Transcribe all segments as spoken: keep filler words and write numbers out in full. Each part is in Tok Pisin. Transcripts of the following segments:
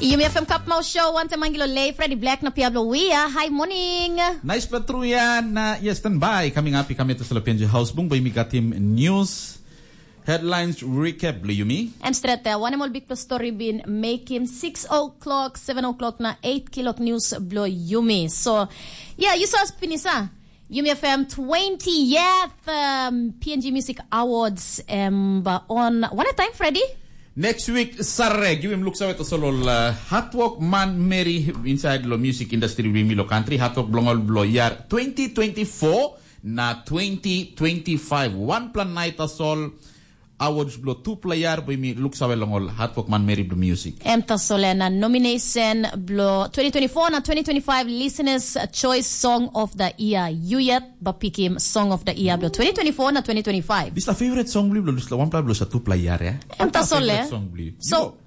Yumi F M Kapmau Show, wantaim Angelo Lei, Freddy Black na Piablo Wia. Hi, morning. Nice pla tru ya na ya standby. Coming up, i kami atas lo P N G House Bung, bai mi got him news. Headlines recap blo yumi. Em stret ya, wanem ol bikpela story bin make him six o'clock, seven o'clock na eight kilok news blo yumi. So, yeah, you saw us finish, huh? Yumi F M twentieth um, P N G Music Awards um, on what a time, Freddy? Next week, Saturday, give him looks away to solo uh, hard work man Mary inside lo music industry wi mi lo country, hard work blong ol blo year twenty twenty-four na twenty twenty-five. One plan night as all awards blo two player, bwi mi looks away long ol hard work man Mary blo music. Em tasol na nomination blo twenty twenty-four na twenty twenty-five Listeners Choice Song of the Year. You yet ba pikim Song of the Year blo twenty twenty-four na twenty twenty-five. This is the favorite song bli blo this one blo sa two player ya. Em tasol. Song bli. So,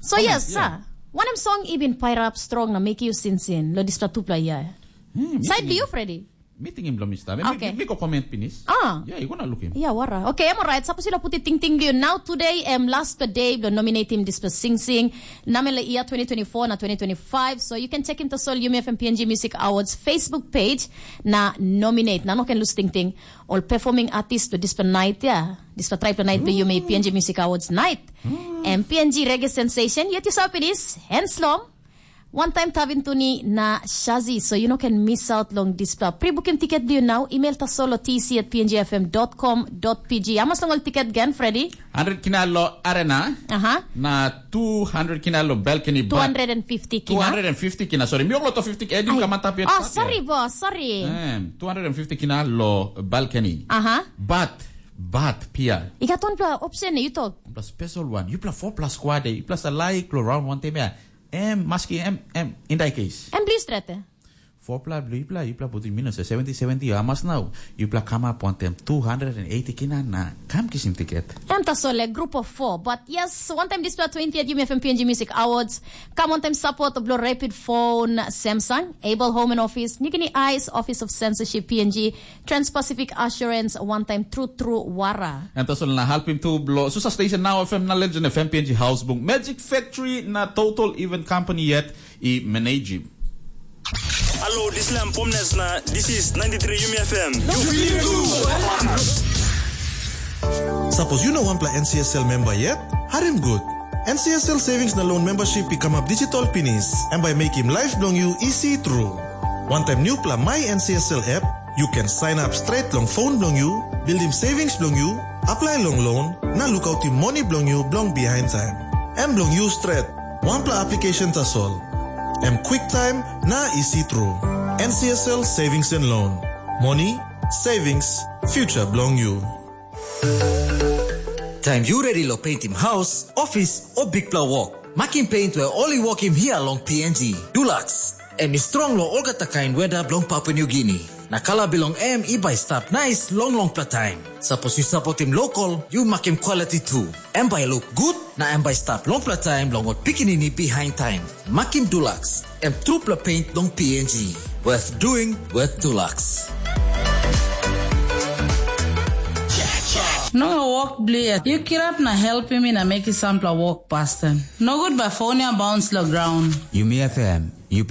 so yes, yeah. One em song ibin pair up strong na make you sin sin lo this two player. Hmm, Side view, Freddy. Meeting him lo mi sta. Okay. Mi, mi ko comment pinis. Ah. Yeah, you gonna look him. Yeah, wara. Okay, I'm alright. Suppose you put it ting ting you now today um last day blo nominate him this sing sing. Namele year twenty twenty-four na twenty twenty-five. So you can check him to Sol Yumi F M P N G Music Awards Facebook page na nominate. Na no can lose ting ting. All performing artist to this night, yeah. This triple night blo Yumi P N G Music Awards night. And P N G Reggae Sensation, yet you saw pinis, Hands Long. One time Tavin Tuni na Shazi, so you no can miss out long dispela. Pre-booking ticket blo you now, email tasol lo T C at P N G F M dot com dot P G. Amas long ol ticket gen, Freddy? Hundred kina lo arena. Aha. Na two hundred kina lo balcony. Two hundred and fifty kina. Two hundred and fifty kina, sorry. Mi ong lo to fifty kina, edim kamata pia. Oh, sorry, boss, sorry. Em, two hundred and fifty kina lo balcony. Aha. But, but, pia. I gat one pla option, you talk. Pla special one. You pla four plus squad, you pla sa like lo round one time, yeah. Em, maski em, em, in that case. Em bli stret, eh? Four pla blo yupla, yupla putim minus seventy seventy, you amas nau. Yupla kamap wantem two hundred and eighty kina na kam kisim tiket. Em tasol e group of four. But yes, one time dispela twentieth Yumi F M P N G Music Awards. Kam one time support blo Rapid Phone, Samsung, Able Home and Office, Nigini Eyes, Office of Censorship, P N G, Trans-Pacific Assurance, one time True True Wara. Em tasol na helpim tu blo Susa Station, Now F M, na Legend F M, P N G House Bung, Magic Factory, na Total Event Company yet i manage. Hello, this is Lam Pomnes na this is ninety-three Yumi F M. Sapos yu no wanpela N C S L memba yet, harim gut. N C S L Savings na Loan Membership i kamap digital pinis, em bai mekim laip bilong yu isi tru. Wantaim nupela My N C S L app, yu ken sign up straight long phone bilong yu, buildim savings bilong yu, apply long loan, na lukautim moni bilong yu bilong behind time. Em bilong yu stret, wanpela application tasol. Em quick time na isi tru. N C S L Savings and Loan. Moni, savings, future bilong yu. Taim yu redi long peintim haus, ofis, o bikpela wok, makim peint we ol i wokim hia long P N G. Dulux, em i strong long olgeta kain weda bilong Papua Niugini. Na kala bilong em i bai stap nais long longpela taim. Sapos yu sapotim lokol, yu makim kwaliti tu. Em bai luk gut, na em bai stap longpela taim long ol pikinini bihain taim. Makim Dulux, em trupela peint long P N G. Worth doing, worth Dulux. Nonga wok blia, yu kirap na helpim mi na mekim sampela wok pasten. Nogut bai fon ya bauns long graun. Yumi F M, yu